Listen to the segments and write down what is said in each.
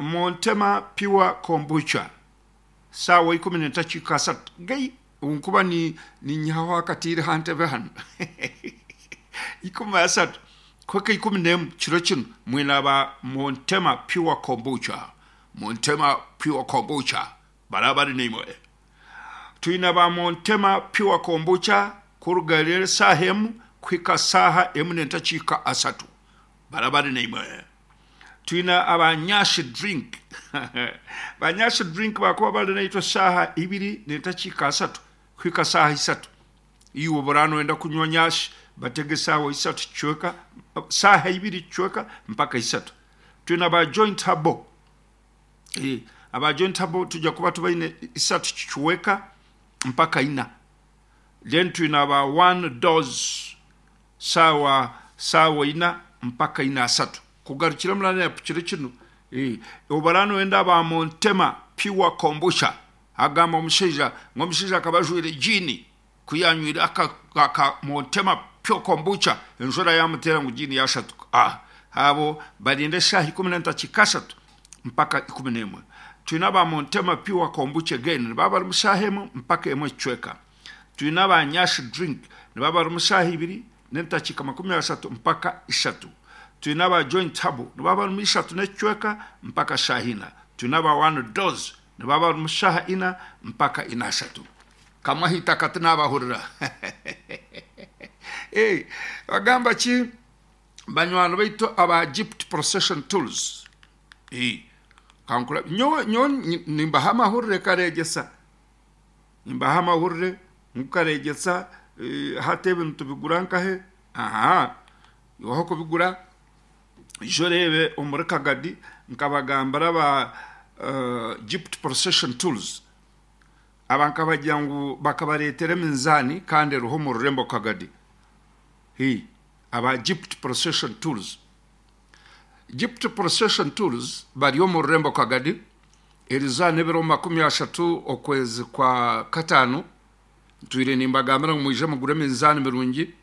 Montema Pure Kombucha saawa ikumi n'entakiika asatu gai nkuba ninyihaho akatiire aha ntebe hanu ikumi asatu kuhika 11 kiro kinu mwine aba Montema Pure Kombucha Montema Pure Kombucha baraba bari naimwe. Twine aba Montema Pure Kombucha kuruga reero esaaha emu kuhika saaha emu n'entakiika asatu baraba bari naimwe. Twine aba Nyashi Drink ba Nyashi Drink bakuba bari naitwe saaha ibiri n'entakiika asatu kuhika saaha isatu. Iwe obu noyenda kunywa Nyashi batega esaawa isatu kicweka, saaha ibiri kicweka mpaka isatu. Twine aba Joint Herbal Aba joint abo tujja kuba tubaine isatu kicweka mpaka ina. Then twine aba one dose saawa saawa ina mpaka ina asatu. Kugarukira mulala yapikire kinu. Obara noyenda aba Montema pure kombucha. Agamba omushaija ngu omushaija akaba ajwaire jiini ku yanywire aka aka Montema pure kombucha enjura yamuteera ngu jiini yashatuka. Ah abo barinde eshaaha 14 mpaka 11. Twine aba Montema Pure Kombucha again nibaba bari mushaaha emwe mpaka emwe ekicweka. Twine aba Nyash Drink nibaba bari mushaaha ibiri n'entakiika 30 mpaka ishatu. Twine aba Joint Herbal nibaba bari mu ishatu n'ekicweka mpaka shaaha ina. Twine aba One Dose nibaba bari mushaaha ina mpaka ina ashatu. Kamwe aha itaka tinabahurira. Hey, bagamba ki banywani baitu aba Gift Procession Tools? Kankura nyowe nyowe nimbaha amahurire kareegyesa nimbaha amahurire ngu kareegyesa hati ebi nitubigura nkahe aha iwe aho kubigura ija oreebe omuri Kagadi nkabagambira aba Gift Procession Tools aba nkabagira ngu bakabareetera eminzaani kandi eriho omu rurembo Kagadi aba Gift Procession Tools. Gift Procession Tours bari omu rurembo Kagadi erizooba n'ebiro 30 okwezi kwa kataano. Ntwire nimbagambira ngu mwije mugure eminzaani mirungi.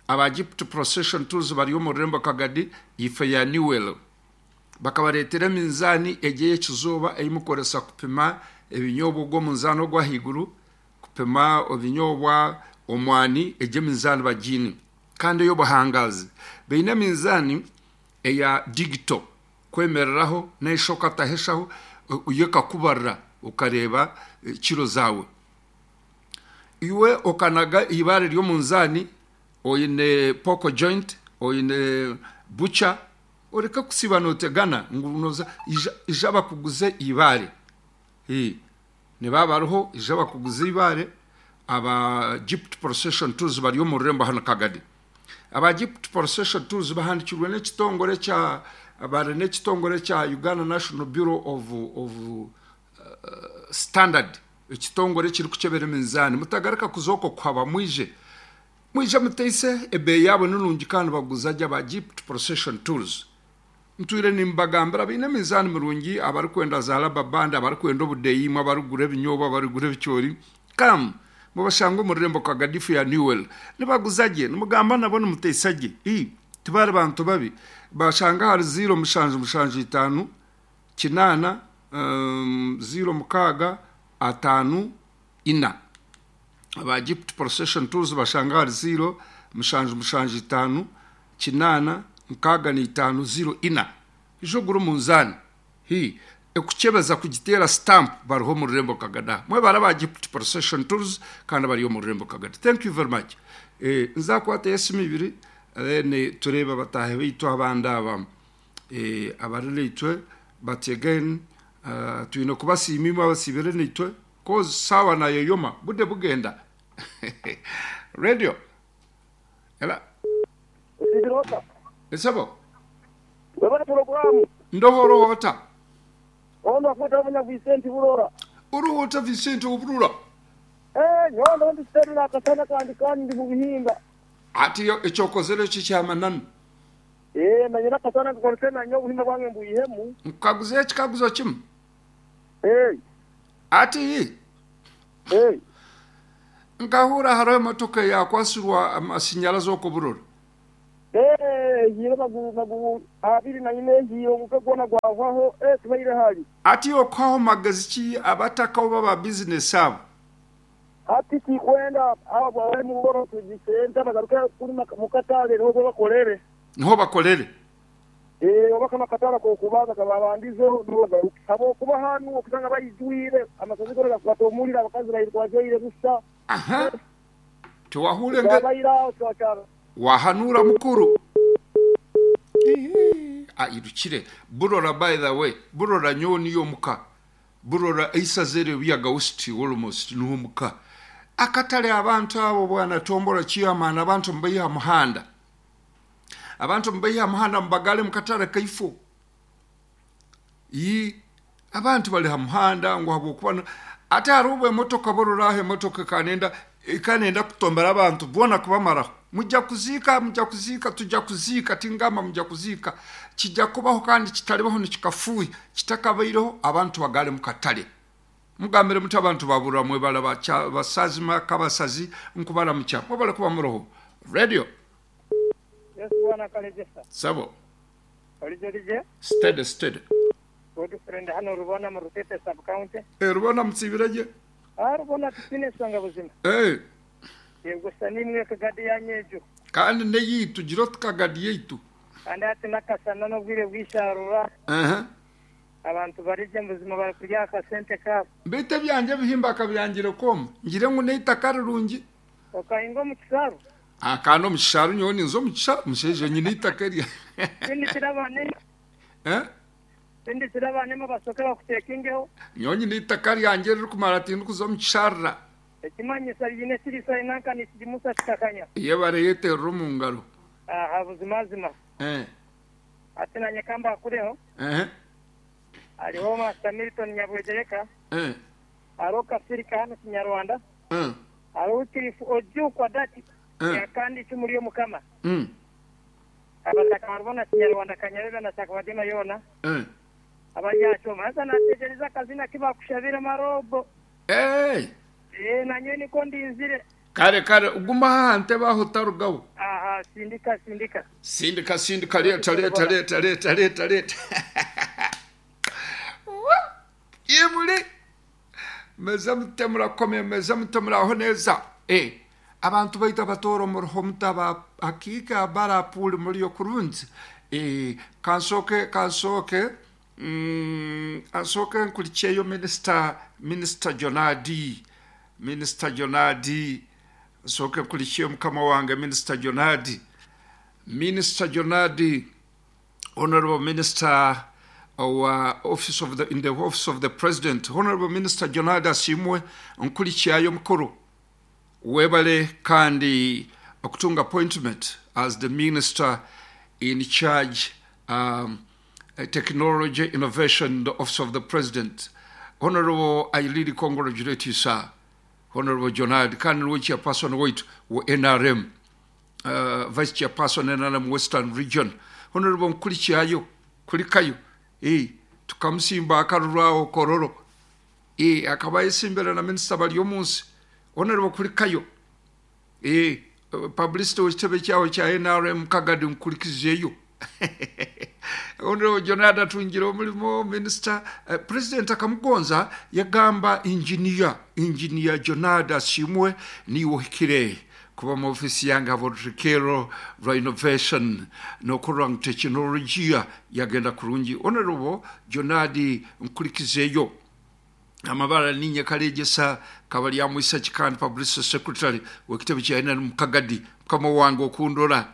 Aba Gift Procession Tours bari omu rurembo Kagadi ife ya Newell. Bakabareetera eminzaani egi ey'ekizooba ei mukoresa kupima ebinyobwa ogw'omunzaani ogw'ahaiguru, kupima ebinyobwa, omwani, egi eminzaani bagiine. Kandi ey'obuhangaazi. Baine eminzaani eya digito kwemereraho n'esha okataho eshaho yo ekakubarira okareeba kiro zaawe. Iwe okanaga eibaare ry'omunzaani oine poko joint, oine bukya oreke kusiiba nootegana ngu nooza ija bakuguze eibaare. Nibaba bariho ija bakuguze eibaare. Aba Gift Procession Tours bari omu rurembo hanu Kagadi. Aba Gift Procession Tours bahandikirwe n'ekitongore kya bari n'ekitongore kya Uganda National Bureau of, of Standard ekitongore ekirikukyebera eminzaani. Mutagaruka kuza okwo kuhaba mwije mwije muteise ebeeyi yaabo ni nungi kandi baguza gye aba Gift Procession Tours. Ntwire nimbagambira baine emizaani mirungi abarikwenda za rubber band, abarikwenda obudeeya imwe abarikugura ebinyobwa, abarikugura ebicoori. Come mubashange omu rurembo Kagadifu ya Newell. Nibaguza gye, nimugamba nabo nimuteisa gye. Ii, tibari bantu babi. Bashange ahari ziiro mushanju mushanju itaano kinaana ziiro mukaaga ataano ina. Aba Gift Procession Tours bashange ahari ziiro mushanju mushanju itaano kinaana 65 04 Ija ogure omunzaani hi ekukyebeza kugiteera stamp bariho omu rurembo Kagada. Mwebare aba Gift Procession Tours kandi abari omu rurembo Kagada. Thank you very much. Eh, nzakwatayo esimu ibiri then tureebe abataahi baitu abandi aba eh, abari naitwe but again uh, twine kubasiima imwe abasiibire naitwe cause saawa nayoyoma bude bugenda radio Ela. Osiibire ota? Esebo. Webale pulogulaamu. Ndoho ota? Ono akweta munya Vicente Burora. Oroho ota Vicente Oburora? Eeh nyowe ndoho ndi steady nakasana kandi kandi ndi mubihinga. Hati eki okozere ki kyamananu? Eeh nanye nakasana nkakoresa nanye obuhinga bwange mbwihemu. Nkukaguzeho ekikaguzo kimu. Eeh. Hati. Eeh. Nkahurra hariho emotoka eyakwasirwa amasinyarazi okwo Burora. ehiire maguru 24 ehiire omuka gwona gwahwaho eh tubaire hali. Ati okuhaho magezi ki abataka oba ba bizinesi abo? Hati tikwenda abo bari mu bworo tugise bagaruke kuri mukatare niho bakorere. Niho bakorere. Eeh oba kanu akatare akokubanza kababandizeho niho bagaruke habwokuba hanu okusanga baijwire amasazi gona gakukwata omuriro abakazi bairuka bajwaire busa. Aha tiwahuure nge. Wahanuura mukuru. Airukire Burora by the way Burora nyowe niyo omuka Burora eisaza eryo Buyaga West almost niho omuka. Akatare abantu abo bwana Tombora chairman abantu mubaihe aha muhanda. Abantu mubaihe aha muhanda mubagare mukatare kaifo. Ii, Abantu bari ha muhanda ngu ahabw'okuba ati hariho obu emotoka borora aho emotoka ekaba nenda ekaba nenda kutombera abantu boona kubamaraho. Mujja kuziika, mujja kuziika, tujja kuziika, tingamba mujja kuziika. Kijja kubaho kandi kitaribaho nikikafuuhi, kitakabaireho abantu bagare mu katare. Mugambire muti abantu ba Burra mwebale ba Basazima Kabasazi nkubaramukya. Mwebale kuba muroho. Radio. Yes bwana Kalegesa. Sebo. Origye rigye. Steady steady. Good friend hano Rubona mu Rutete sub county. Eh Rubona mutsibire gye? Ah Rubona titwine ensonga buzima. Eh. Yego sa nimwe kagadi yanyu egyo. Kandi neyeitu gira oti kagadi yeitu. Kandi hati nakasana nobwire bwisharura. Ehe. Abantu barigye buzima bari kurya aha kasente kabo. Beitu ebyangye ebihimba akabyangire kwoma ngire ngu neitaka rirungi. Okahinga omu kisaaru? Ah, kandi omu kisaaru nyowe ninza omu kisaaru, mushaija nyine eitaka erya. Sindikira abaana Eh? Sindikira abaana basooke bakuteekingeho. Nyowe nyine eitaka ryangye eririkumara tindikuza omu kisharira. Ekimanyisa riine ekiriisa nanka nikigimusa kikakanya. Yebare yeterera omu ngaro. Aha buzimazima. Eh. Hati nanye ka mbakureho. Eh. Hariho Master Milton Nyabwegyereka. Eh. Hariho Kafirika hanu Kinyarwanda. Eh. Hariho Wycliffe Ojukwa Dati Eh. yakandi icumu ry'Omukama. Mm. Abataka haribo na Kinyarwanda Kanyabeba na Kyakabadima yoona Eh. abari aha kyoma. Haza nategyereza akazina aku bakushabire Marobo. Eh. Ee, nanyowe nikwo ndinzire. Kare kare guma aha ntebe aho otarugaho. Aha, sindika sindika. Sindika sindika reeta reeta reeta reeta reeta reeta. Imuri Meze mute murakomeye meze mute muraho neza eh abantu baitu abatooro muriho muta aba hakiika barapuuli muriyo kurungi eh kansooke kansooke mm, kansooke nkurikyeyo minisita minisita Jonadi minisita Jonadi nsooke nkurikyeyo mukama wange minisita Jonadi minisita Jonadi Honourable Minister owa office of the, in the office of the President, Honourable Minister Jonald Asiimwe Nkurikyayo Mukuru, webale kandi okutunga appointment as the Minister in charge um, Technology Innovation in the office of the President. Honourable, I really congratulate you sir. Honourable Jonald kandi niwe chairperson waitu wa NRM. Vice Chairperson NRM Western Region Honourable Nkurikyayo Kurikayo eh, tukamusimba akaruru aho Kololo eh, akaba ayesimbire na Minisita Baryomunsi Honourable Kurikayo eh, publicity w'ekitebe kyaho kya NRM Kagadi Nkurikizeyo Honourable Jonald atungire omurimo Minisita eh, President akamugonza yagamba Engineer Engineer Jonald Asiimwe niiwe ohikire Kuba omu ofiisi yange habw'orutekerro rwa innovation n'okurora ngu tekinologiya yagenda kurungi. Honourable Jonadi Nkurikizeyo Amabara ninye Karegesa Kabaryamwisaki kandi Publicity Secretary w'ekitebe kya NRM Kagadi mukama wange okundora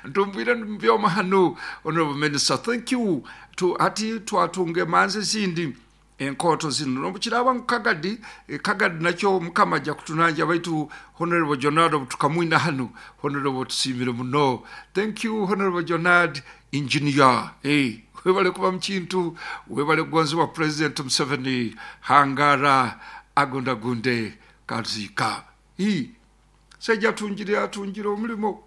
ntumbwire ndi mubyoma hanu. Honourable Minister thank you tu hati twatunga emanzi ezindi Enkooto zinu n'obu kiraaba ngu Kagadi, Kagadi nakyo Mukama aja kutunanja baitu Honourable Jonard obu tukamwina hanu, Honourable tusiimire muno. Thank you Honourable Jonard Engineer. Eh, webale kuba mu kintu, webale kugonzebwa President Museveni. Hangara agundagunde kaziika. Hii, Musaija atungire atungire omulimo.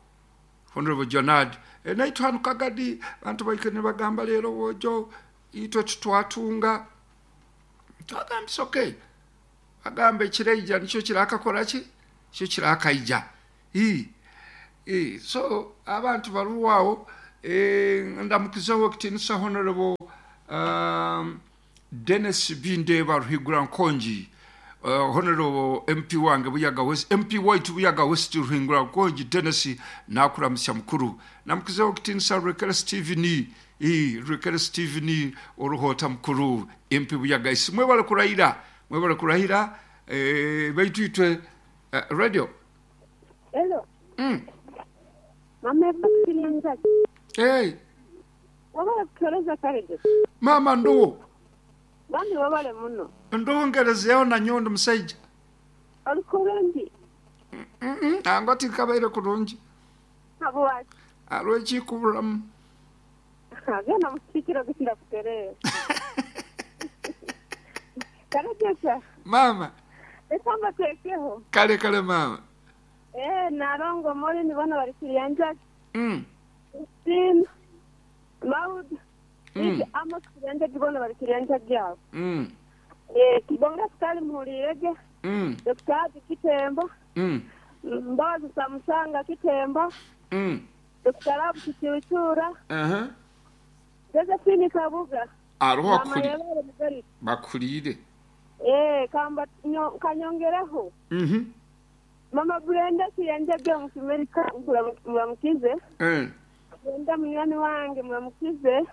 Honourable Jonard. Eh, naitwe hanu Kagadi abantu baikaire nibagamba leero bwojo Itwe titwatunga. Twagambisa ok. Bagamba ekiraija nikyo kirakakora ki? Nikyo kirakaija. Ii. So abantu baruho aho ndamukizeho ow'ekitiinisa Honourable Denis Bindeeba Ruhigura Nkongi, Honourable MP wange Buyaga West, MP waitu Buyaga West Ruhingura Nkongi Denis nakuramutsya mukuru. Ndamukizeho ow'ekitiinisa Rwekere Stephen, Rwekere Stephen Oruhoota mukuru MP Buyaga East. Mwebale kurahira, mwebale kurahira baitu itwe Radio. Hello. Mama Evakiria Njagi. Hey. Wabale kutuhereza Karegesa. Mama nduwo. Bambi wabale muno. Nduwo ngerezeho nanyowe ndi musaija. Oli kurungi? Nangwa tinkabaire kurungi. Habwaki? Hariho ekikuburamu. Genda omu kiikiro genda kutereera. Karegesa. Mama. Reka mbateekeho. Kale kale mama. Eeh Nalongo Maureen boona bari Kiryanjagi. Christine, Maud, Lydia, Amos Kiryanjagi boona bari Kiryanjagi abo. Kibonge Sukali muhuriire gye, Dokita Haji Kitembo, Mbabazi Samusanga Kitembo, Dokita Rabu Kicuucuura, Josephine Kabuga, Hariho Maama akuri Yebare Mugarika. bakuriire. Eeh kamba nyo kanyongereho. Mama Brenda Kiyanjage omu Kimerika muramukize. Brenda munywani wange muramukize.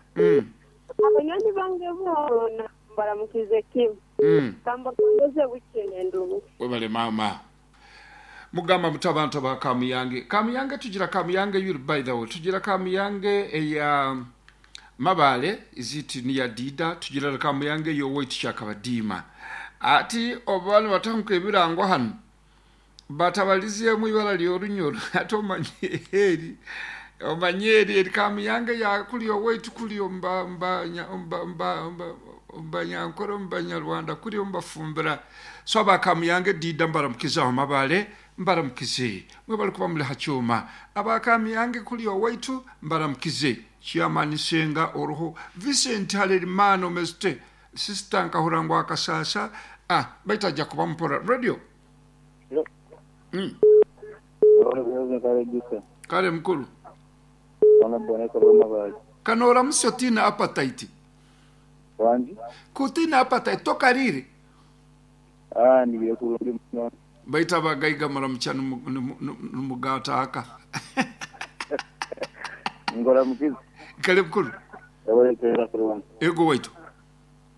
Abanywani bange boona mbaramukize kimwe. Kambagondoze bukye nendungi. Webale maama. Mugamba muta abantu aba Kamuyange. Kamuyange tugira Kamuyange yuri by the way. Tugira Kamuyange eya Mabale is it near Dida tugira Kamuyange y'owaitu Kyakabadiima. Ati obu nibatanguka ebirango hanu batabarizeemu eibara ry'orunyoro hati omanye eri omanye eri eri Kamuyange ya kuri owaitu kuri omu ba omu ba omu ba omu Banyankore omu Banyarwanda kuri omu Bafumbira so aba Kamuyange Dida mbaramukize aho Mabale mbaramukize mwebale kuba muri ha kyoma aba Kamuyange kuri owaitu mbaramukize Chairman Nsenga oriho Vincent Harerimana omeze Sister nkahurira ngu akashaasha ah baitu aja kuba mpora. Radio. Kare mukuru. Ka noramutsya otaine appetite. Ku otaine appetite tokariire? Baitu abagaiga muramukya nimugaata aka. Kare mukuru. Ego waitu.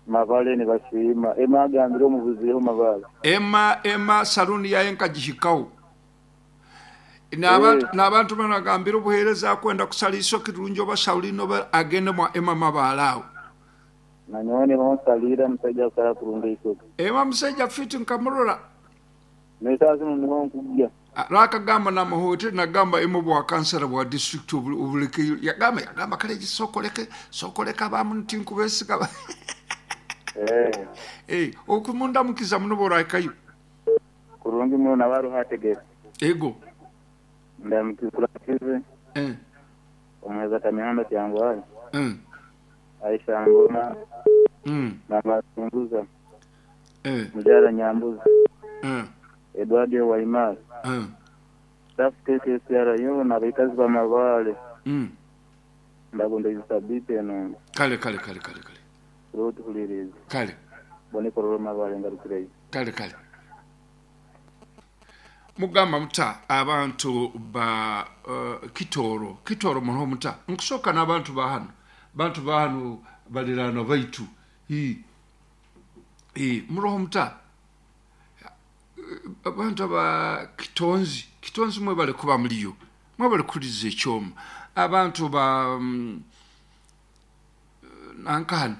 Mabale nibasiima. Emma agambire omubuzireho Mabale. Emma Emma saloon yaaye nkagihikaho. N'abantu boona nagambira obuheereza akwenda kushara eishokye rirungi oba shaulini oba agende mwa Emma Mabale aho. Nanyowe niho nsaliira omusaija akushara kurungi eishokye. Emma musaija fit nkamurora. N'eshaaha zinu niho nkugya. Hariho akagamba namuhoteri nagamba Emma obwa kansara bwa district obureke yagamba yagamba kare sooka oreke sooka oreke abamwe tinkubesiga. Okumundamukiza muno obu orahikayo. Kurungi muno nawe aruho ategere. Ego. Ndamukurakize. Omuheza Kamihanda Kyangwali. Aisha Ngoma. Mama Sunguza. Mujara Nyambuzi. Edward Waimara. Staff KKCR yoona abaikazi ba Mabale. Ndagondeize sabiiti enungi. Kale kale kale kale kale. Turiho tuhuriiriize. Kale. Mbone korora Mabale ngarukireyo. Kale kale. Mugamba muta abantu ba Kitooro Kitooro muriho muta? Nkusooka n'abantu ba hanu bantu ba hanu bariraanwa baitu ii ii muriho muta? Abantu aba Kitonzi Kitonzi mwebale kuba muriyo mwebale kuhuririza ekyoma abantu ba nanka hanu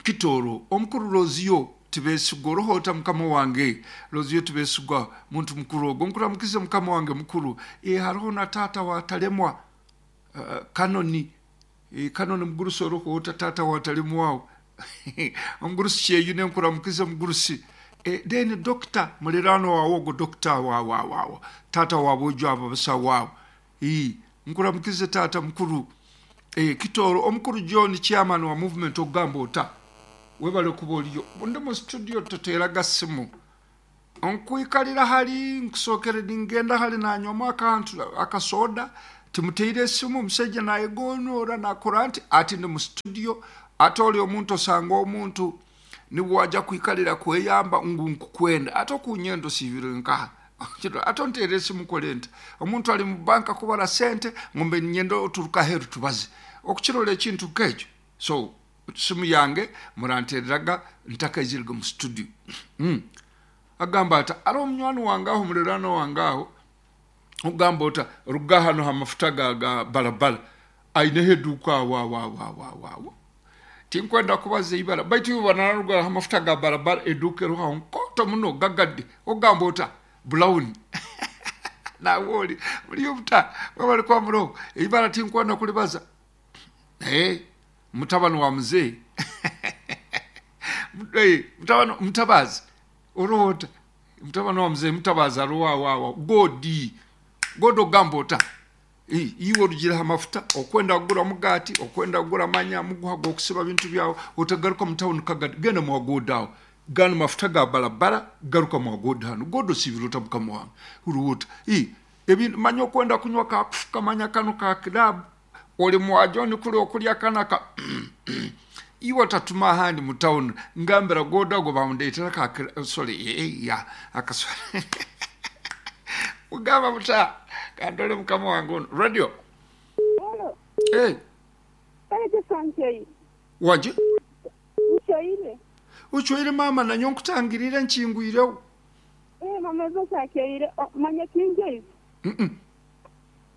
Kitooro omukuru Lozio Tibesigwa oriho ota mukama wange Lozio Tibesigwa muntu mukuru ogwo nkuramukize mukama wange mukuru ee hariho na taata wa Taremwa Kanoni ee Kanoni mugurusi oriho ota taata wa Taremwa aho omugurusi Kyeyune nkuramukize mugurusi ee then Dokita muriraanwa waawe ogwo Dokita wa wa wa taata wa boojo abo abasawo abo ii nkuramukize taata mukuru Eeh Kitooro omukuru John chairman wa movement okugamba ota? Webale kuba oriyo. Ndi mu studio toteera ga simu. Nkwikarira hali nkusookere ningenda hali nanywamu akantu akasoda timuteire esimu omushaija nayegonora nakora nti ati ndi mu studio ate ori omuntu osanga omuntu nibwo waja kwikarira kweyamba ngu nkukwenda ate okunyenda osiibire nkaha ate onteere esimu nkore nta omuntu ari mu banka kubara sente ngu mbe niinyenda oturuke aheeru tubaze okukirora ekintu nk'ekyo so simu yange muranteereraga ntakaizirege mu studio Agamba ati, Hariho munywani wange aho, omuliraanwa wange aho, ogamba ota, ruga hanu aha mafuta ga, ga barabara, aineho eduuka aho, aho, aho, aho, aho, aho. Tinkwenda kubaza eibara, baitu iwe banararuga aha mafuta ga barabara, eduuka eriho aho nkooto muno, gagadde. Ogamba ota, Brown. Nawe ori, muri obuta, mwebare kuba muroho. Eibara tinkwenda kuribaza. Ee, mutabani wa muzeeyi. Ee, mutabani, Mutabazi, oriho ota? Mutabani wa muzeeyi Mutabazi ariho aho aho. Godi, Godi ogamba ota? Ee, iwe orugire aha mafuta, okwenda kugura omugaati, okwenda kugura manya muguha gw'okusiba bintu byawe, otagaruka mu tawuni kagadi, genda mwa Godi aho. Ganu mafuta ga barabara, garuka mwa Godi hanu. Godi osiibire ota mukama wange? Oriho ota? Ee, ebintu, manya okwenda kunywa ka kufuka, manya kanu ka kiraabu, Ori mwa John kuri okurya kana ka iwe otatuma ahandi mu town ngambira goda ago bamundetera ka sorry ya akasore mugamba muta kandore mukama wange onu radio Halo. Hey. Kale nchoire. Wanje? Nchoire. Ochoire mama nanyo nkutangirire nkingwireho. Eh mama ezo kyakeire manya tinjoize.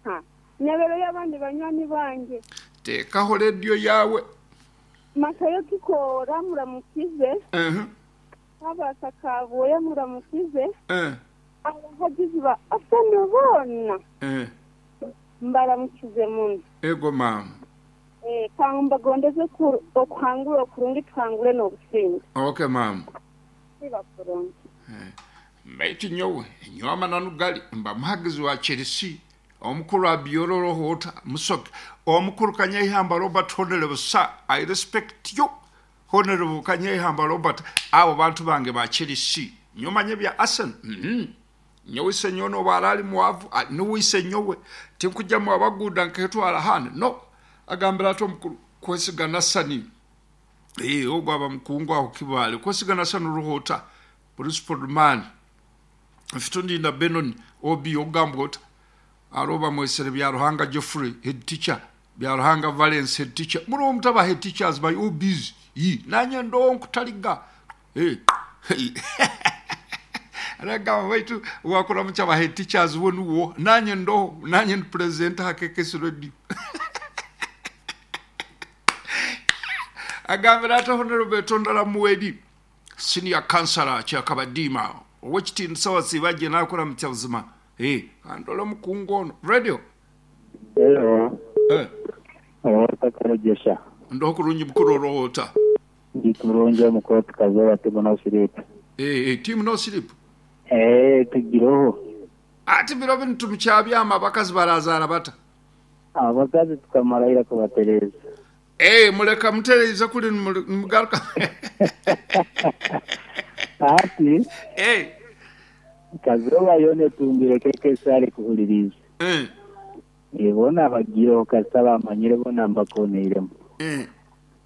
Ha, nyabero y'abandi banywani bangye. Teekaho rediyo yaawe. Matayo Kikoora muramukize. Kabaasa Kabwoya muramukize. Abahagizi ba Arsenal boona mbaramukize muno. Ego maama. Ka mbagondeze okuhangura okurungi tuhangure n'obusinge. Ok maama. Siba kurungi. Baitu nyowe, nyowe amananu gali, mba muhagizi wa Chelsea, omukuru Abiyola oroho ota, Musoke, omukuru Kanyeihamba Robert Honourable sir, I respect you, Honourable Kanyeihamba Robert, abo bantu bange ba Chelsea, nyowe manya ebya Arsenal, uhmm, nyowe isenyowe nobu ara ari mwavu, nuwe isenyowe, tinkujya mu abaguuda nketwara ahandi, no, agambire ati omukuru Kwesiga Nasani, ee, ogu aba mukungu aho Kibaale, Kwesiga Nasani oroho ota, Principal Man, Mfite Ondinda Benon, OB, Ogambwa ota? Hariho Bamwesere Byaruhanga Geoffrey, Head Teacher, Byaruhanga Valence, Head Teacher. Muriho muta ba Head Teachers ba OBs? Yii, nanye ndoho nkutariga. Hey, hey. Aragamba baitu wakuramukya ba Head Teachers bo niwe oha? Nanye ndoho, nanye ndi President aha KKS Radio. Agambire ati Honourable Tondaramuweri. Senior Councillor Kyakabadiima Owekitiinisa wasiiba gye nakuramukya buzima eeh kandore omukungu ono. Radio. Hello. Eh. Ota Kamugisha. Ndoho kurungi mukuru oroho ota? Ndi kurungi omukuru tukazooba team no sleep. Eh eh team no sleep. Eh tugiroho. Ati biro binu timukyabyama abakazi barazaara bata? Abakazi tukamara ira kubatereeza. Ee, mureka mutereize kuri nimugaruka. Hati, Ee. Kazooba yoona etungire KKC arikuhuririize. Ee. Ee, boona abagiireho kasita baamanyire boona mbakooneiremu. Ee.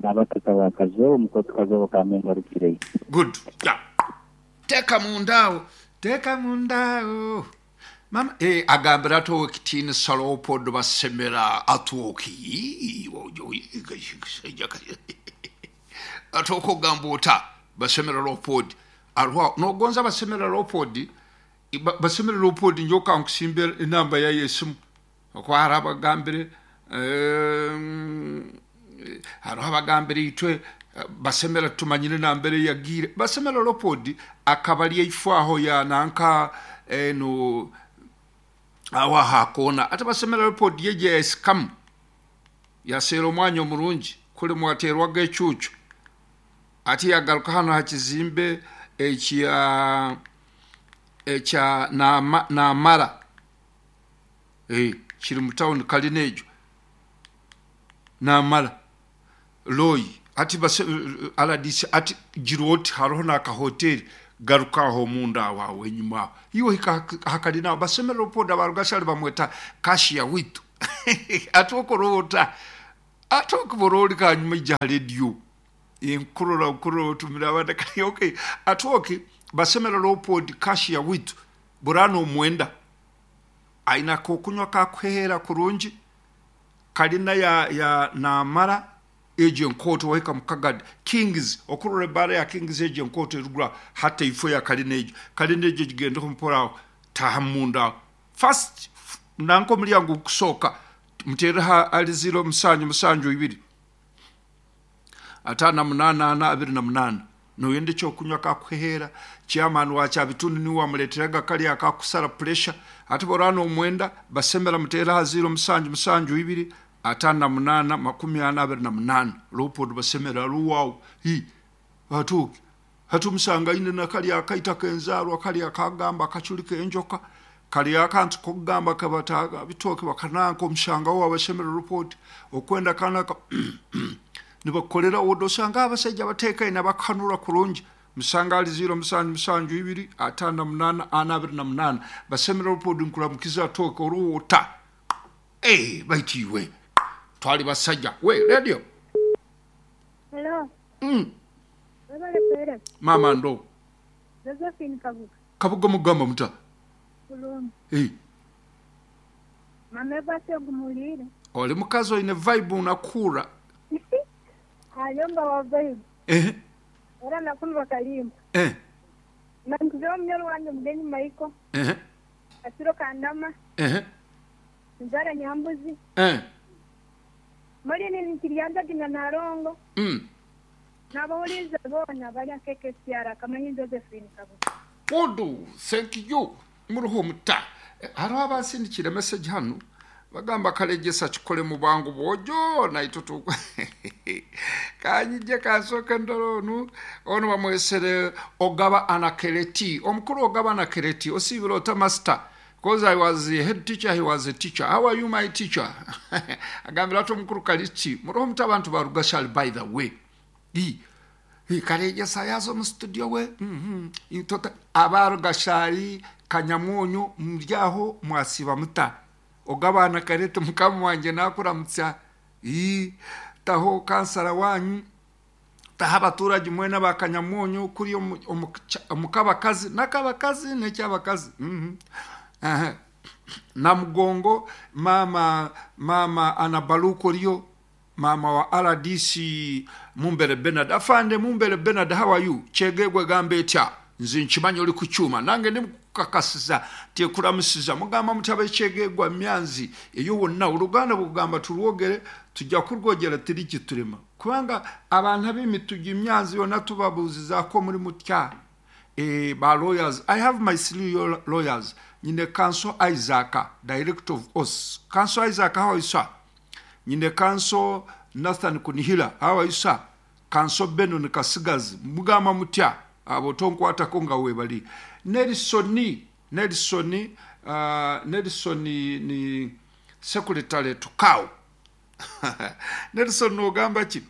N'abataka ba Kazooba omukooti Kazooba ka Mengo arugireyo. Good. Yeah. Teeka munda aho. Teeka munda aho. Mama eh, agambira ati Owekitiinisa Leopold Basemera Atwoki Atwoki ogamba ota Basemera Leopold ariho aho nogonza Basemera Leopold Basemera Leopold nyowe kankusimbe enamba yaye esimu Ahakuba hariho abagambire hariho abagambire itwe Basemera titumanyire nambere yagiire. Basemera Leopold akaba ari eifo aho ya nanka enu aho aha koona. Hati Basemera Leopold yaija yasikamu yaseera omwanya omurungi kuri mwateerwaga ecuucu. Hati yagaruka hanu aha kizimbe ekya ekya Naamara. Ee, kiri mu tawuni kalina egyo naamara Roy ati base rdc ati gira oti hariho n'aka hoteri Garuka aho omunda aho aho enyima aho. Iwe ohika aha karina aho basemerera opoda ba Rugashari bamweta Cashier waitu. Ati okora ota? Ati okubora ori hanyuma ija aha rediyo. Nkurora nkurora otumire abaana kare okay. Ati ok basemerera Leopold Cashier waitu bora nomwenda. Aine akokunywa kakuheheera kurungi karina ya ya namara Egyo enkooto wahika mu Kagadi, Kings, okurora ebaara ya Kings egyo enkooto eruguru aho, hati eifo ya kalina egyo. Kalina egyo ogigendeho mpora aho, taahamu munda aho. First, nanka omuryango ogukusooka, muteereho ahari ziiro musanju musanju ibiri, 58 ana 28. Noyenda ekyokunywa akakuheheera, chairman wa Kyabitundu niiwe wamureeteraga kariya akakusara puresha. Hati boraba nomwenda, basemera muteere aha ziiro musanju musanju ibiri, 58 40 28 Leopold Basemera ari owaawe hi atooke hati omusanga aine na kari akaita k'enzaarwa kari akagamba akacuri k'enjoka kari akantu k'okugamba kabata bitooke bakananka omushanga owaawe Basemera Leopold okwenda kanaka nibakukorera oda osanga abasaija abateekaine abakuhanura kurungi musanga ahari ziiro musanju musanju ibiri 58 ana 28 Basemera Leopold nkuramukize atooke ori ota. Eeh baitu iwe twali basaja we radio. Hello. Mm. Webale kuhereza. Maama ndo. Josephine Kabuga. Kabuga mugamba muta? Bulungi. Eh. Mama ebasi ogumuliire. Oli mukazi oine vibe unakuura. Ayomba wa vibe. Eh. Era nakunu bakalimba. Eh. Nankuzeho omunyoro wange Mugenyi Michael. Eh. Kasiro Kandama. Eh. Nzara Nyambuzi. Eh. Maureen Nikiryanzagi na Nalongo. Mm. N'abahuriize boona bari aha KKCR Akamanyi Josephine Kabuga. Good, thank you. Muriho muta? Hariho abansindikire message hanu bagamba Karegyesa kikore mu bwangu bwojo naitwe tu kanyije kansooke ndore onu onu bamwesere Ogaba Anakereti omukuru Ogaba Anakereti osiibire ota master Coz I was a head teacher he was a teacher how are you my teacher agambire ati omukuru Kaliti muriho muti abantu ba Rugashari by the way Ii ii Karegyesa yaaza omu studio we uhmm tota aba Rugashari Kanyamwonyo muri aho mwasiiba muta ogu abaana Kareti mukama wangye nakuramutsya ii taho kansara wanyu Taho abaturage mwena ba Kanyamwonyo kuriya omu kabakazi n'akabakazi n'ekyabakazi Namugongo maama maama Anna Baluku oriyo maama wa rdc Mumbere Bernard Afande Mumbere Bernard how are you Kyegegwa egamba etya Nze nkimanya ori kukyuma nange ndi mukukakasiza nti ekuramusiza mugamba muti abekyegegwa myanzi eyo wonna oluganda bwekugamba turwogere tujja kurwogera tirikiturema Kubanga abantu ab'emitugi emyanzi yoona tubabuuzizaako muri mutya eeh ba lawyers I have my three lawyers nyine Kanso Isaac director of os Kanso Isaac how are you sir nyine Kanso Nathan Kunihira how are you sir Kanso Benon Kasigazi mugamba mutya abo tonkwatako nga webali Nelson Nelson uh, Nelson ni secretary Tukau Nelson nogamba ki?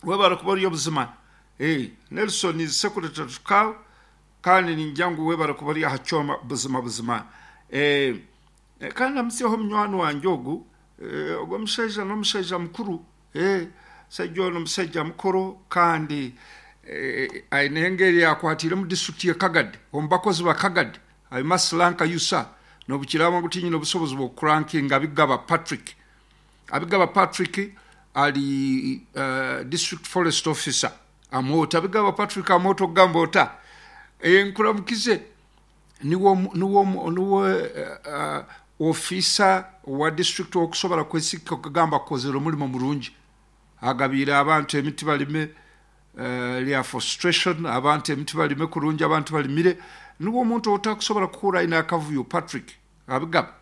Webare kuba ori obuzima. Hey, Nelson is secretary to cow kandi ningira ngu webare kuba ori aha kyoma buzima buzima. Eh, kandi ndamutsyeho munywani wangye ogu, eh, ogu omushaija n'omushaija mukuru. Eh, omushaija onu n'omushaija mukuru kandi eh, aine engeri yakwatiire omu district ye Kagadi, omu bakozi ba Kagadi. I must rank you sir. N'obukiraaba ngu tinyine obusobozi bw'okukurankinga Abigaba Patrick. Abigaba Patrick ari District Forest Officer Amwoto. Abigaba Patrick Amwoto okugamba ota? Nkuramukize. Niwe niwe niwe ofiisa wa district ow'okusobora kwesiga okugamba akozire omurimo murungi. Agabiire abantu emiti barime Reafostration, abantu emiti barime kurungi abantu barimire. Niwe omuntu ou otakusobora kuhurra aine akavuyo Patrick Abigaba.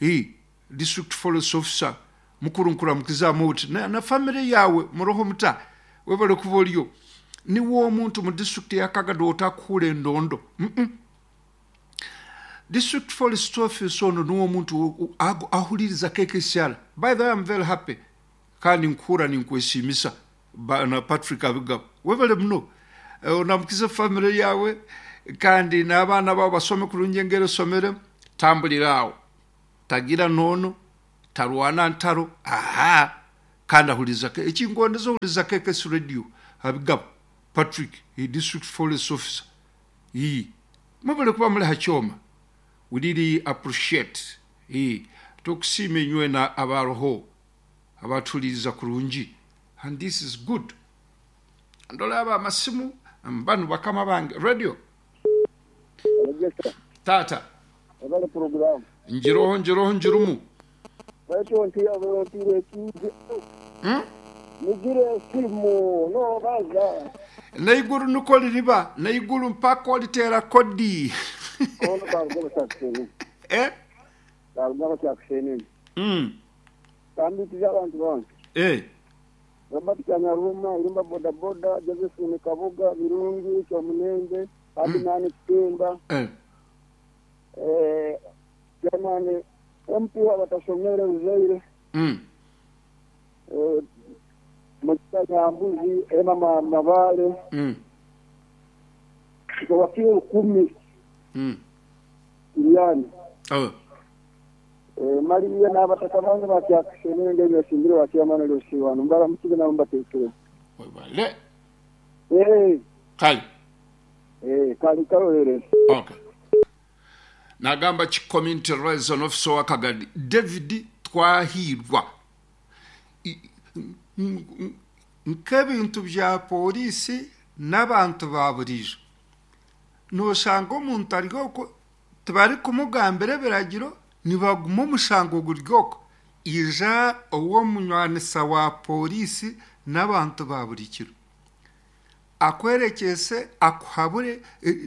Hii District Forest Officer mukuru nkuramukizaamu oti na, na family yaawe muroho muta? Webale kuba oriyo. Niwe omuntu mu district ya Kagadi ou otakuhurra endondo. Mm. District Forest Officer onu niwe omuntu ahuririza KKCR. By the way I'm very happy Kandi nkuhurra ninkwesiimisa Bwana Patrick Abigaba. Webale muno. Onamukize famire yawe kandi n'abaana bawe basome kurungi engeri osomere. Tambulira aho. Tagira noono, tarwana ntaro, aha, kandi ahuriza ekingondeza ohuriza KKS radio Abigabo Patrick, he district forest officer. Ii, mwebale kuba muri ha kyoma. We really appreciate. Ii, tukusiima inywena abaroho abatuhuririza kurungi and this is good. Ndora aba amasimu banu bakama bange radio. Abegyesa. Taata. Webale puroguramu. Ngiroho ngiroho ngirumu. Baitu ontiire ontiire ekiije. Mugire esimu nobaza. N'eiguru nikwo ririba, n'eiguru mpaka oriteera kodi. Ono karuga Kyakusenene. Eh? Karuga Kyakusenene. Kambitize abantu bange. Eh. Robert Kanyaruma, Irumba boda boda, Josephine Kabuga, Birungi, Kyomunenge, Adinani Kitimba. Eh. Eh, Chairman MP w'abatashomere Uzaire. Eh, Mukisa Nyambuzi, Emma Mabale. Wakio 10. Iriani. Oh. Eh, Mariya n'abataka bange bakyakusenere ng'ebyosimbire wakyamana lyosiwano mbara mukibe nabo mbateekere. Webale. Eh. Kale. Eh, kali kalolere. Okay. Nagamba ki community liaison officer wa Kagadi David Twahirwa. Nk'ebintu bya polisi n'abantu ba burijo. Noshanga omuntu ari okwo tibari kumugambira ebiragiro nibaguma omushango guri okwo. Ija ow'omunywanisa wa polisi n'abantu ba buri kiro. Akwerekyese akuhabure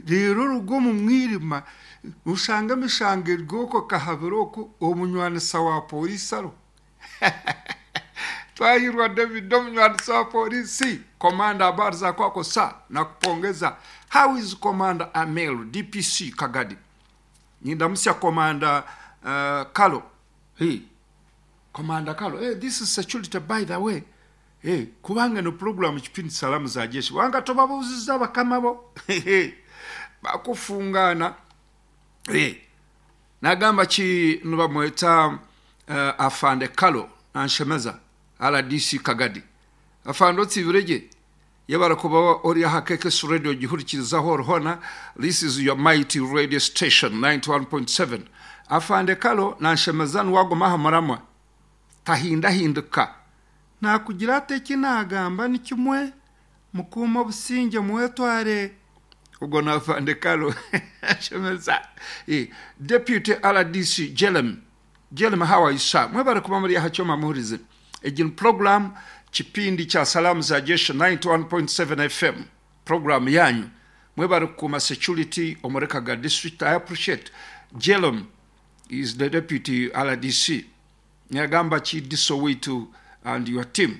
reero oruga omu mwirima oshanga emishango eri okwo kahabire okwo omunywanisa wa polisi ariho. Twahirwa David omunywanisa wa polisi. Komanda habari za kwako sa nakupongeza. How is Commander Amel DPC Kagadi? Nindamusya Commander Kalo. Hey. Commander Kalo. Hey, this is security by the way. Hey, kubanga no program kipindi salamu za jeshi. Wanga tobabuziza bakama bo. Bakufungana. Hey. Nagamba ki nibamweta Afande Kalo anshemeza RDC Kagadi. Afande otsibireje yabara kuba ori aha KKS radio gihurikirizaho ruhona. This is your mighty radio station 91.7. Afande Kalo nanshemeza nwagoma hamaramwa tahindahinduka. Nakugira ate kinagamba ni kimwe mukuma obusinge mwetware. Ubwo na Afande Kalo anshemeza. Deputy RDC Jelem. Jelem, how are you sir? Mwebare kuba muri aha cyoma muhurize. Egin program kipindi cha salamu za jeshi 91.7 FM program yanyu. Mwebare kuma security omureka ga district. I appreciate. Jelem is the deputy RDC. Nyagamba chi diso witu and your team.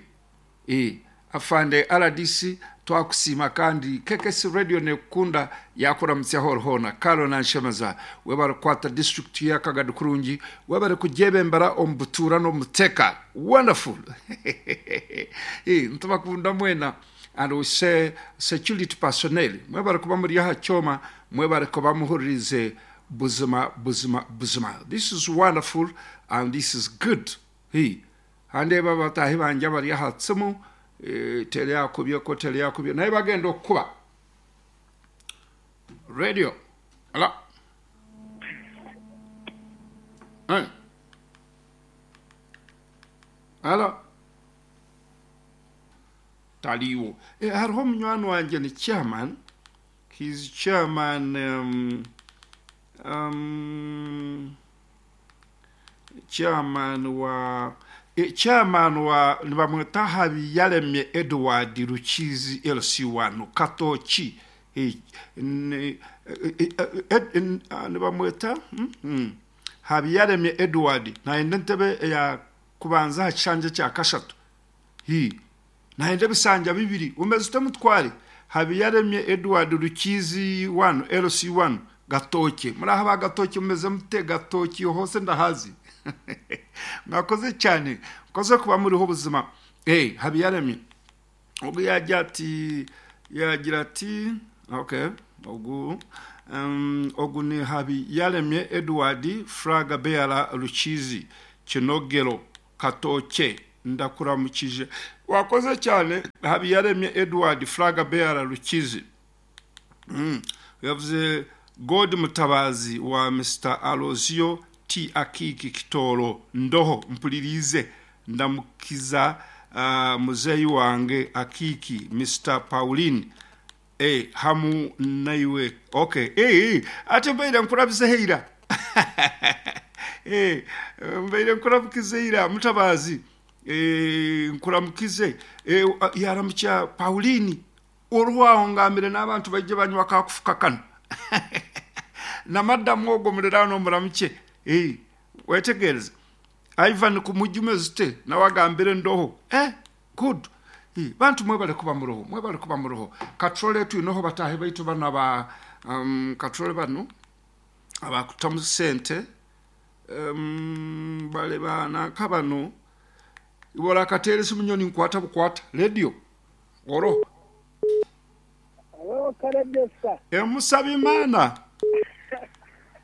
Afande RDC twakusima kandi KKS radio nekunda yakuramutsa horhona Kalo nanshemaza webare kwata district ya Kagadi kurungi webare kujebembera ombutura no muteka wonderful. Ntubakunda mwena and we say security personnel mwebare kuba muri aha cyoma mwebare kuba muhuririze buzima buzima buzima. This is wonderful and this is good. Hande baba tahi banje bari aha tsimu tele yakubye ko tele yakubye naye bagenda okuba radio. Ala ala taliwo hariho munywani wanje ni chairman. He's chairman chairman wa chairman wa nibamweta Habiyaremye Edward Rukizi LC1 Katoki. Nibamweta Habiyaremye Edward naende ntebe ya kubanza hakishanje cya kashatu. Naende bisanja bibiri umeze ute mutware Habiyaremye Edward Rukizi 1 LC1 Gatoki. Muri aha ba Gatoki mumeze mute? Gatoki hose ndahazi. Mwakoze cyane mwakoze kuba muriho ubuzima. Habiyaremye ubwo yajya ati Yaagira ati, Okay, ogu, um, ogu ni Habiyaremye Edward, Flag Bearer Rukiizi, Kinogero, Katookye, Ndakuramukije. Wakoze cyane Habiyaremye Edward, Flag Bearer Rukiizi. Mm. Yavuze God Mutabazi wa Mister Alozio T Akiiki Kitooro Ndoho mpuririize ndamukiza uh, muzeeyi wange Akiiki Mister Pauline eh, hamu naiwe okay eh, eh, ate mbaire nkurabizeho eira eh, mbaire nkurabukize eira Mutabazi eh, nkuramukize eh, yaramukya Pauline Oriho aho ngambire n'abantu baije banywa ka kufuka kanu. Na madamu ogwo muriraanwa omuramukye. Eh, wetegereze. Ivan Kumujja omeze ute? Nawe agambire ndoho. Eh, good. Eh, bantu mwebale kuba muroho, mwebale kuba muroho. Katurole twineho bataahi baitu banu aba um, katurole banu abakutamu sente um, bale bananka banu iwe orakateera esimu nyowe ninkwata bukwata radio. Oro. Halo Karebesa. Emusabimana.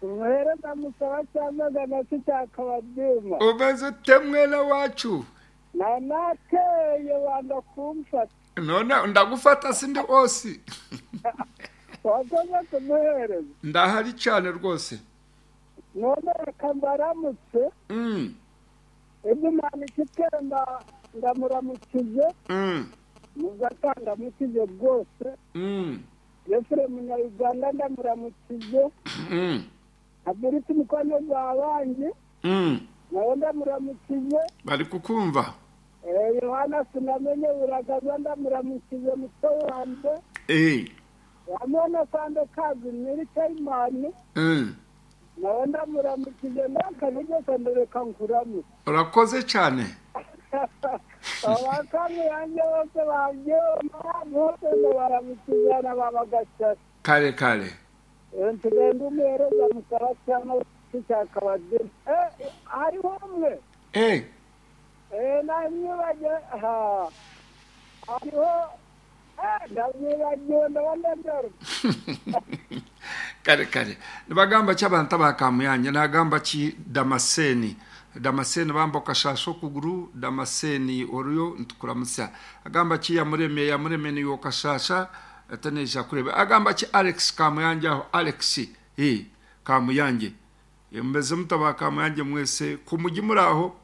Umuhereza musaba cyamagana si cya Kabadima. Omeze ote mwene wacu? Na nakeye wanga kumfata. None ndagufata sindi osi. Wakoze kumuhereza. Ndahari cyane rwose. None reka mbaramutse. Ibyo Imana ikitemba ndamuramukije. Muzaka ndamukije rwose. Efure munyayuganda ndamuramukije. Ability mukwano gwa bangi nawe ndamuramukije. Bari kukumva. Yohana sinamenye buragaza ndamuramukije muto wanjye. Hamwe na Sande Kazi nyiri Kayimani. Nawe ndamuramukije ndakanigeze ndereka nkuramutse. Urakoze cyane. Abakami yanjye bose babyumva bose ndabaramukije na baba Gashari. Kare kare. Tugenda umuhereza musaba cyangwa cya Kabadima. Hariho umwe. Namwibagiwe ha hariho ndamwibagiwe ndaba ndagaruka. Kare kare. Nibagamba ki abantu aba Kamuyanja? Nagamba ki Damascene? Damascene bamba okashaasha okuguru, Damascene oriyo nitukuramutsya. Agamba ki Yamuremye? Yamuremye niiwe okashaasha ate naija kureeba. Agamba ki Alex Kamuyanja aho? Alex eh Kamuyangye. Mumeze muta aba Kamuyangye mwese? Ku mugi muri aho?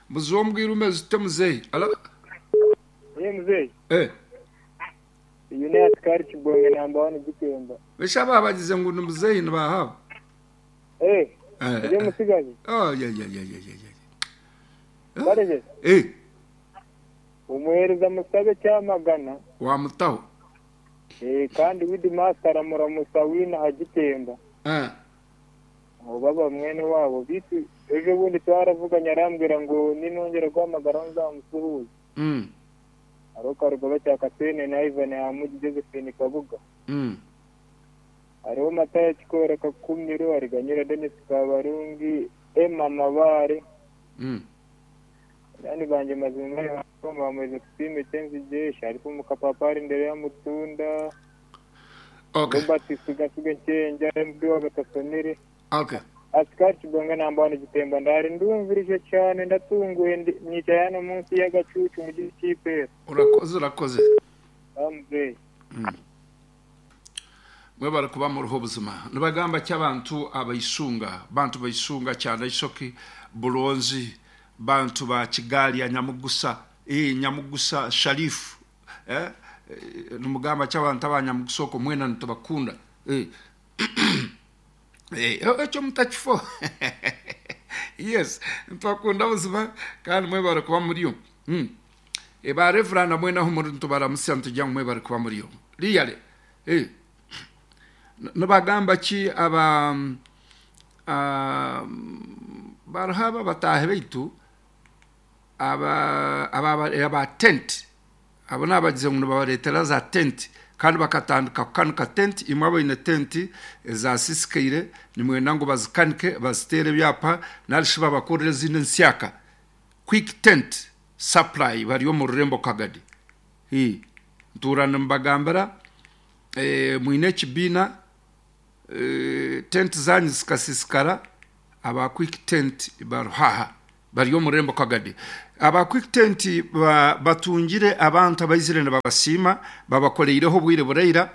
Muzi ombwire omeze ute muzeeyi? Alo? Ye muzeeyi. Eh. Uyu ni Asikari Kibonge namba wani Gitemba. Besha aba bagize ngu ni muzeeyi nibaha abo? Eh. Eh. Uri musigazi? Oh ye ye ye ye ye ye. Bareze? Eh. Umuhereza musabe cyamagana. Wamutaho. Eh kandi with master aramuramusa wina Hagitemba. Eh. Abo baba mwene wabo bitu ejo bundi twaravuganye arambwira ngo ninongera guhamagara nzamusuhuze. Hariho Karugoba cya Kasene na Ivan Hamugi Josephine Kabuga. Hariho Matayo Kikora Kakumiro, Hariganyira Denis Kabarungi, Emma Mabare. Banywani bangye mazima bamweze Tusiime Kyenzigyesha, hariho Mukapapari Ndereya Mutunda, Okay. Robert Sigasiga Nkyenja, MB wa Gatasonere. Okay. Asikari Kibonge namba wani Gitemba ndari ndumvirije cyane ndatunguye ndi- nicaye hano munsi y'agacucu mu giti cy'ipera. Urakoze urakoze. Bamuzeyi. Mwebare kuba muruho buzima. Nibagamba ki abantu abaisunga, bantu baisunga kyanda isoki bulonzi, bantu ba Kigali ya Nyamugusa, eh Nyamugusa Sharifu. Eh nimugamba ki abantu aba Nyamugusa okwo mwena nitubakunda. Eh Eh, ekyo mutakifo. Yes, nitubakunda buzima kandi mwebare kuba muriyo. E ba Reverend na mwena ahu muri nitubaramutsya nitugira ngu mwebare kuba muriyo. Really. Eh. Nibagamba ki aba bariho aba bataahi baitu aba aba aba tent abo nabagize ngu nibabareetera za tent kandi bakatandika kukanika tent imwe abaine tent ezasisikaire nimwenda ngu bazikanike baziteere ebyapa narishi babakorere ezindi ensyaka quick tent supply bari omu rurembo Kagadi. Ntuura nimbagambira. Mwine ekibiina, tenti zaanyu zikasiisikara, aba Quick Tent bariho aha, bari omu rurembo Kagadi. Aba Quick Tent batungire abantu abaizire nibabasiima, babakoreireho obwire buraira,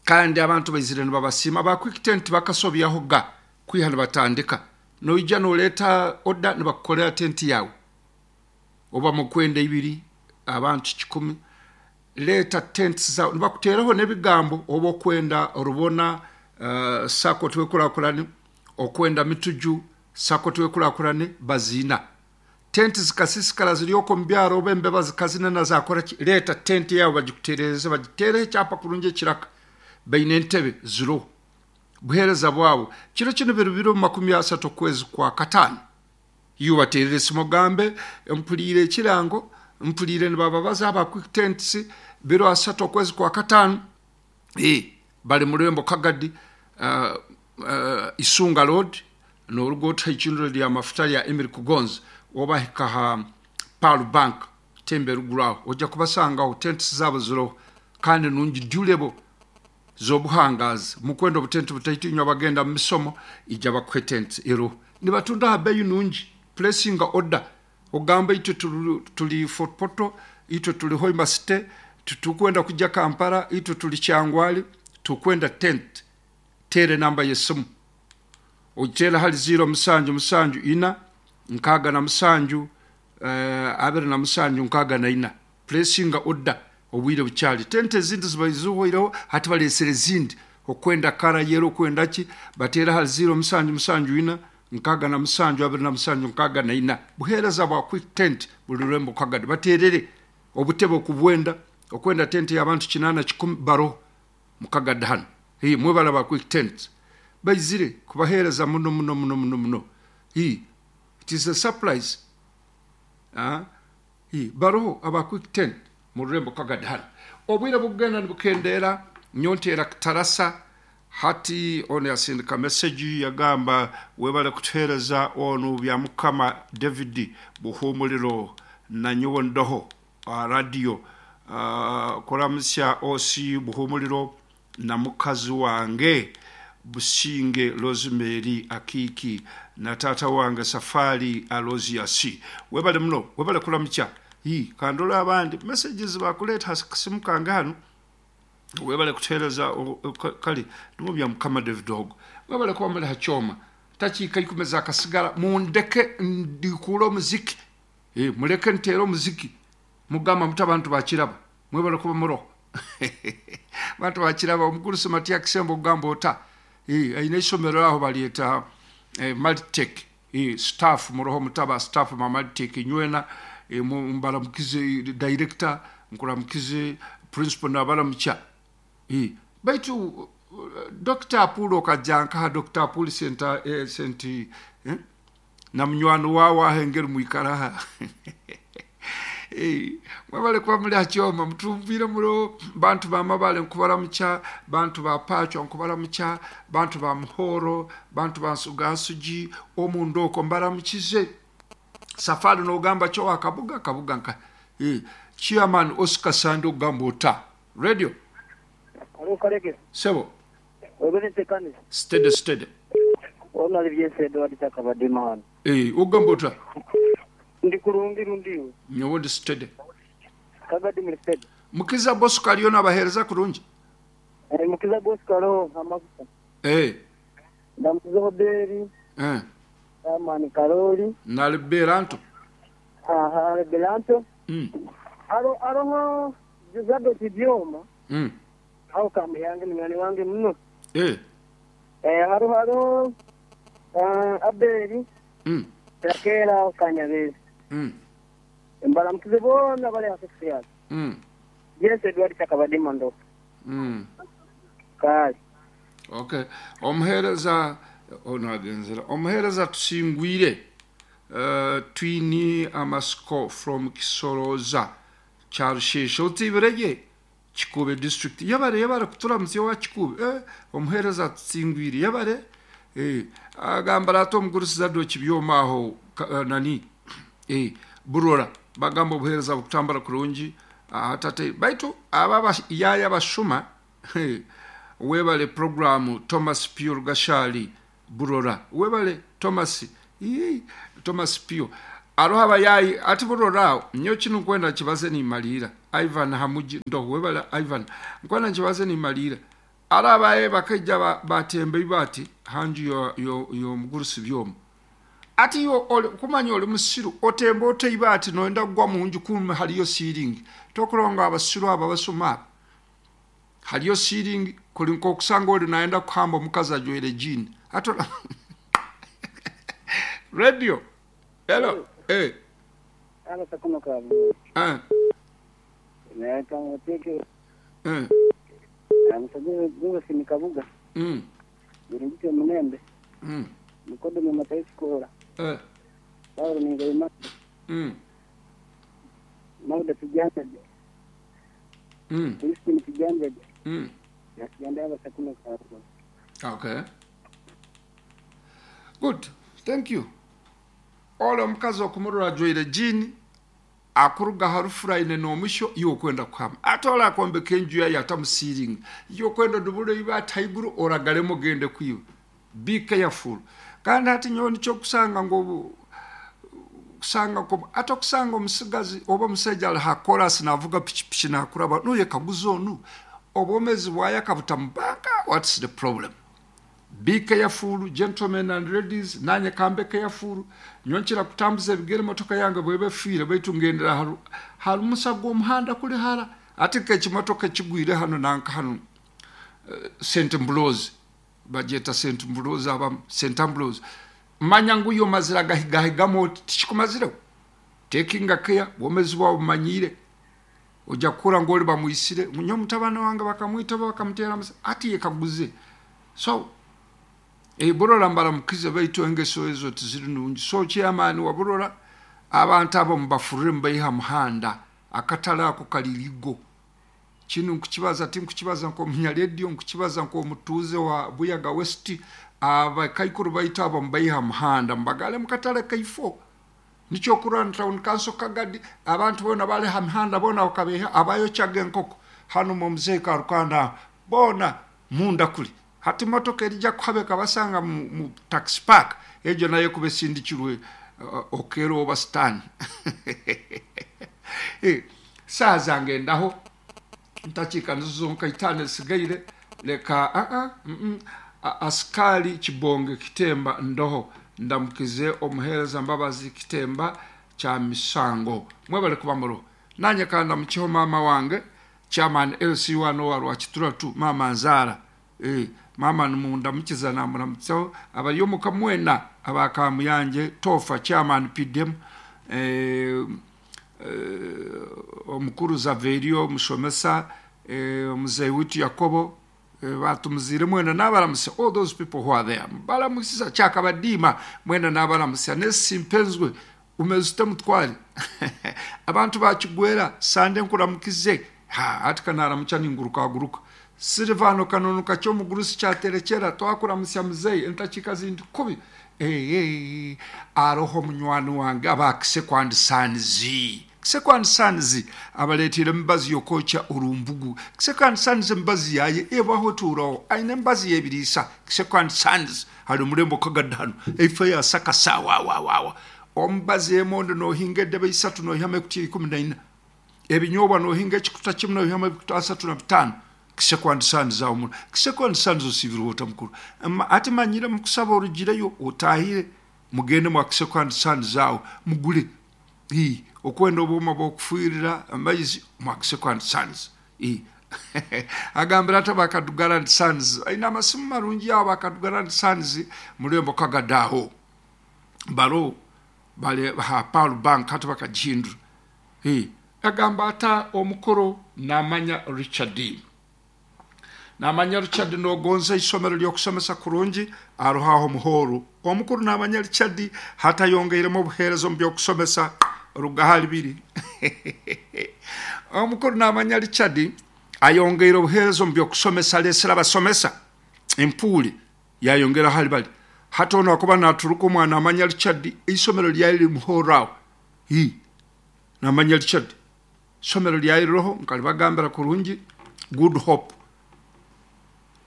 kandi abantu baizire nibabasiima. Aba Quick Tent bakasobyaho ga kwiha nibatandika. Noija nooreeta oda nibakukorera tenti yaawe. Oba mukwenda ibiri, abantu kikumi, Reeta tents zaawe. Nibakuteeraho n'ebigambo oba okwenda Rubona sacco Twekurakurane, okwenda Mituju sacco Twekurakurane, baziina. Tenti zikasiisikara ziri okwo omu byaro oba embeba zikazinena zaakora ki, reeta tenti yaawe bagikutereereze bagiteereho ekyapa kurungi ekiraka. Baine entebe ziroho. Buheereza bwabo. Kiro kinu biri 20 okwezi kwa kataano. Iwe obateerere esimu ogambe, Mpuriire ekirango, mpuriire nibababaza aba Quick Tents, 30 okwezi kwa kataano, ee, bari mu rurembo Kagadi, Isunga Road, nooruga oti aha icundiro rya mafuta rya Emiri Kugonza, wabahika aha Pearl Bank, temba eruguru aho, oija kubasangaho, tents zaabo ziroho kandi nungi durable. z'obuhangaazi. Mukwenda obutenti butaito inywe abagenda mu misomo, ija bakuhe tenti eroho. Nibatunda aha beeyi nungi. Pulesinga oda ogambe itwe turi Fort Portal, itwe turi Hoima City, titukwenda kuja Kampala, itwe turi Kyangwali, tukwenda tenti. Teera enamba y'esimu ogiteere ahari ziiro mushanju mushanju ina 67 27 64. Puresinga oda obwire bukyari. Tente ezindi zibaire zihweireho hati bareetsire ezindi. Okwenda kara yero okwenda ki bateere ahari ziiro 774 67 27 64. Buheereza bwa Quick Tent buri rurembo Kagadi. Bateerere obutebe okubwenda. Okwenda tente y'abantu kinaana kikumi baroho Mukagadi hanu. Hii mwebare aba Quick Tent baizire kubaheereza muno muno muno muno muno. Hii it is a surprise. Ah. Ii, Baroho aba Quick Ten mu rurembo Kagadi hanu. Obwire bukugenda nibukendeera, nyowe nteera kitarasa. Hati onu yasindika meseji yagamba, Webale kutuheereza onu Byamukama David Buhumuriro na nyowe ndoho aha radiyo kuramutsya OC Buhumuriro na mukazi wange Businge Rosemary Akiiki na taata wange Safari Alozius. Webale muno, webale kuramukya. Hii, kandore abandi messages bakureeta aha kasimu kange hanu. Webale kutuheereza kare niwe Byamukama David ogwo. Mwebale kuba muri aha kyoma. Takiika ikumi ezakasigara mundeke ndikuure omuziki. Mureke nteere omuziki. Mugamba muti abantu bakiraba. Mwebale kuba muroho. Abantu bakiraba. Omugurusi Matia Kisembo ogamba ota? Aine eishomero aho baryeta Malitech. Staff muroho muti aba staff ba Malitech inywena mbaramukize director, nkuramukize principal nabaramukya. Baitu Dokita Apuuli okaja nkaha Dokita Apuuli Senti na munywani waawe aha engeri mwikara aha. Mwebale kuba muri aha kyoma mutumbwire muro bantu ba Mabale nkubaramukya, bantu ba Pacwa nkubaramukya, bantu ba Muhoro, bantu ba Nsugansugi, omunda okwo mbaramukize. Safari nogamba ki owa Kabuga? Kabuga nkahi? Chairman Oscar Sande ogamba ota? Radio. Haro Karekezi. Sebo. Webale ntekanisa. Steady steady. Ono ali Byensi Edward Kyakabadima hano. Eeh ogamba ota? Ndi kurungi rundi iwe? Nyowe ndi steady. Kagadi muri steady? Mukiza Bosco ariyo nabahereza kurungi? Eeh Mukiza Bosco aroho nk'amagufa. Eeh. Ndamukiza Oberi. Eeh. Chairman Karoli. Na Liberanto. Aha Liberanto. Aroho Zadok Byoma. Aho Kamuyange munywani wange muno. Haroho haroho Abeli Rakela aho Kanyabezi. Mbaramukize boona abari aha Sexyard. James Edward Kyakabadima Ndofu. Kale. Okay. Omuheereza onu agenzire. Omuheereza tusingwire Twine amatsiko from Kisorooza Kyarusheeshe otiibire gye Kikuube district. Yebare yebare kuturamutsya owa Kikuube. Eh, omuheereza atusingwire. Yebare. Eh, agambira ati omugurusi Zadoki Byoma aho nani eh, Burora bagamba obuheereza bukutambura kurungi. Aha tate baitu aba abayaaya abashuma. Webale puroguramu Thomas Pio Rugashari Burora. Webale Thomas. Ii, Thomas Pio. Aroho abayayi ati Burora aho. Nyowe kinu nkwenda nkibaze nimaliira. Ivan Hamugi Ndoho. Webale Ivan. Nkwenda nkibaze nimaliira. Aroho abayayi bakaija batemba eibaati ha nju y'omugurusi Byoma. Ati iwe oli kumanya oli musiru otemba ota eibaati noyenda kugwa munju kumbe hariyo siiringi. Tokurora ngu abasiru abo abasuma abo hariyo siiringi kuri nkokusanga ori nayenda kuhamba omukazi ajwaire jiini. Hati ora Radio Hello eh. Eh. Eh. Mm. Mm. Mukodomi Matayo Kikoora, Eh. Paulo Ningoyima, Mm. Mauda Tujanjaje, Crispin Tujanjaje, Nakiganda Abasakuma Karuguru. Okay. Good. Thank you. Ole omukazi okumurora ajwaire jean akuruga aha rufura aine n'omusyo iwe okwenda kuhama. Ate ole akombeka enju yaye atamu ceiling. Iwe okwenda odubure eibaati haiguru oragaremu ogende kwiba. Be careful. Kandi hati nyowe nikyo okusanga ngu obu kusanga nko ati okusanga omusigazi oba omusaija ari ha korasi navuga pikipiki nakuraba noyekaguza onu obwomezi bwaye akabuta mu banka what's the problem? Be careful gentlemen and ladies nanye kambe careful nyowe nkira kutambuza ebigere emotoka yange bweba efiire baitu ngendera ha ha rumusa gw'omuhanda kuri hara ati nk'ekimotoka ekigwire hanu nanka hanu Saint Ambrose bagyeta Saint Ambrose abamu Saint Ambrose manya ngu iwe omazire agahigahigamu oti tikikumazireho taking care obwomezi bwawe obumanyiire ojja kukura ngu ori bamwisire ngu nyowe mutabani wange bakamwita oba bakamuteera amasasi hati yekaguze so eh, Burora mbaramukize baitu engeso ezo tiziri nungi so chairman wa Burora abantu abo mubafurure mubaihe ha muhanda akatare ako kari legal Kinu nkukibaza tinkukibaza nk'omunyarediyo, nkukibaza nk'omutuuze wa Buyaga West. Abakaikuru baitu abo mubaihe ha muhanda mubagaare mu katare kaifo. Nikyo okurora ni Town Council Kagadi abantu boona bari ha mihanda boona bakabaiha abayokyaga enkoko hanu omu Muzeeyi Karukanda aho boona munda kuri. Hati motoka erija kuhaba ekabasanga mu taxi park egyo nayo ekuba esindikirwe Okello oba Sitaani. Saaha zange ndaho ntakiika nizo zonka itaano ezisigaire reka aa mm Asikari Kibonge Kitemba ndoho ndamukize omuheereza Mbabazi Kitemba kya Misango mwebale kuba muroho nanye ka ndamukiho maama wange Chairman LC one owa Rwakitura tu maama nzaara eh maama nimundamukiza namuramutsaho abari omuka mwena aba Kamuyangye Toofa Chairman PDM eh Omukuru Zaverio, omushomesa, Omuzeeyi waitu Yakobo, baatumuziire mwena naabaramutsya, all those people who are there, mbaramutsiza, Kyakabadiima, mwena naabaramutsya, Nesi Mpenzwe, umeze ota mutware? Abantu ba Kigwera, Sande nkuramukize, ha, hati ka naaramukya ningurukaguruka. Silvano Kanunu Kakye omugurusi Kyaterekyera, twakuramutsya muzeeyi, entakiika zindi kubi. Eeh, aroho munywani wange aba Kisekwa and Sons. Kisekwa and Sons abareeteire emibazi y'okwokya orumbugu. Kisekwa and Sons emibazi yaayo ebaho etuuraho. Aine emibazi y'ebiriisa. Kisekwa and Sons ari omurembo Kagadi hanu. Eifo ya Sakasa wawawawa. Omubazi emondo noohinga edebe isatu noihamu ekutiya 14. Ebinyobwa noohinga ekikuta kimwe noihamu ebikuta 35. Kisekwa and Sons aho muno. Kisekwa and Sons osiibirwe ota mukuru? Hati manyire mukusaba orugireyo otaahire mugende mwa Kisekwa and Sons aho mugure. Ii, okwenda obwoma bw'okufuhirira amaizi mwa Kisekwa and Sons. Ii. Agambire ati aba Kadugara and Sons baine amasimu marungi aho aba Kadugara and Sons murembo Kagadi aho. Baro bari aha Pearl Bank hati bakagihindura. Ii. Agamba ata omukuru Namanya Richard. Namanya Richard nogonza eisomero ry'okushomesa kurungi aroho aho omuhooro. Omukuru Namanya Richard hati ayongeiremu obuheereza omu by'okushomesa ruga ahari biri. Omukuru Namanya Richard ayongeire obuheereza omu by'okushomesa areetsire abashomesa empuuri yayongera ahari bari. Hati onu akuba naturuka omwa Namanya Richard eisomero ryaye riri Muhooro aho. Ii. Namanya Richard. Eishomero ryaye ririho nkaribagambira kurungi Good Hope.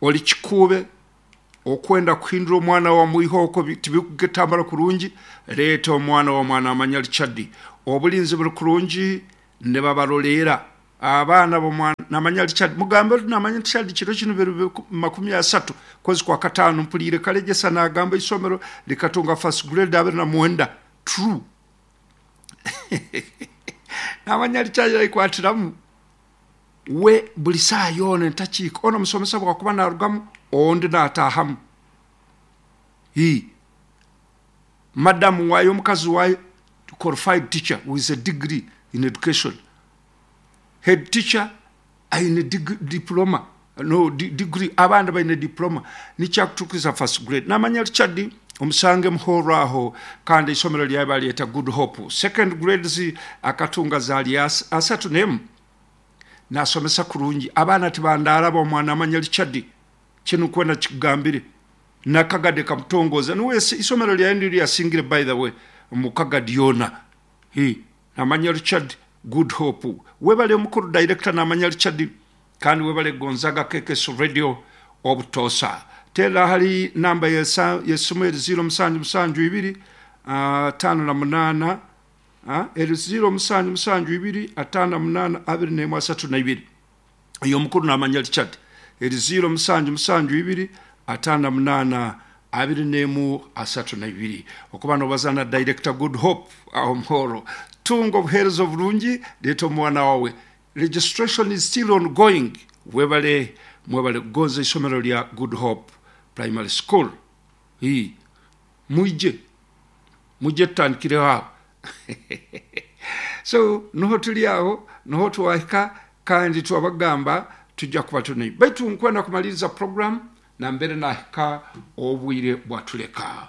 Ori kikuube okwenda kuhindura omwana wa mwiha okwo tibikutambura kurungi, reeta omwana wa mwana amanya Richard. Oburinzi buri kurungi nibabaroreera abaana b'omwana namanya Richard. Mugambe oti namanya Richard kiro kinu biri 30 kwezi kwa kataano mpuriire Karegyesa nagamba eishomero rikatunga first grade 29. True. Namanya Richard yayikwatiramu. We buri saaha yoona entakiika onu omushomesa bwakuba narugamu ondi nataahamu. Hii. Madamu waayo omukazi waayo qualified teacher with a degree in education. Head teacher aine diploma no degree abandi baine diploma nikyo akutukiza first grade. Namanya Richard omusange Muhorro aho kandi eishomero ryawe baryeta Good Hope. Second grades akatunga zari 31. Nasomesa kurungi abaana tibandaara omwana amanya Richard kinu kwenda kikugambire na Kagadi kamutongoza niwe isomero ryawe niryo ryasingire by the way omu Kagadi yoona. Hii namanya Richard Good Hope. Webale omukuru director namanya Richard kandi webale Gonzaga KKS Radio obutoosa. Teera ahari namba y'esimu eri 0772 58 eri 0772 58 21 32. Oyo omukuru namanya Richard eri 0772 58 21 32. Okuba nobaza na director Good Hope aho Muhoro. Tunga obuheereza oburungi, reeta omwana wawe. Registration is still ongoing. Webale mwebale kugonza eishomero rya Good Hope Primary School. Hii. Mwije. Mwije tutandikireho aho. So niho turi aho, niho twahika kandi twabagamba tujja kuba tuni. Baitu nkwenda kumaliriza program nambere nahika obwire bwatuleka.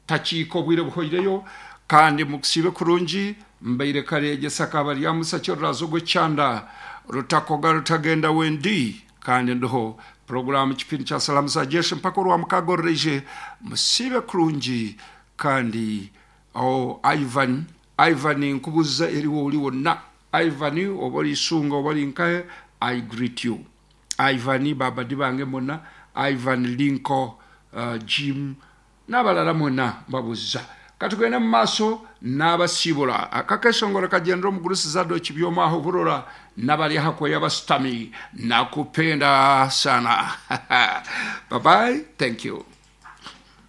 Takiika obwire buhoireyo kandi mukusiibe kurungi mbaire Karegyesa Kabaryamusa Kyorrazo gw'ekyanda rutakoga rutagenda wendi kandi ndiho programu kipindi kya salamu za jeshi mpaka orwa mukaga orureije musiibe kurungi kandi oh, Ivan Ivan nkubuza eriwo ori wonna Ivan oba ori Isunga oba ori nkahe I greet you Ivan babadi bange mona Ivan Linko Jim n'abalala mwena mbabuza. Katugende mu maaso n'abasiibura. Aka keshongoro kagyendera omugurusi Zadoki Byomwaho Burora n'abari aha kweya abashutami. Nakupenda sana. Bye bye. Thank you.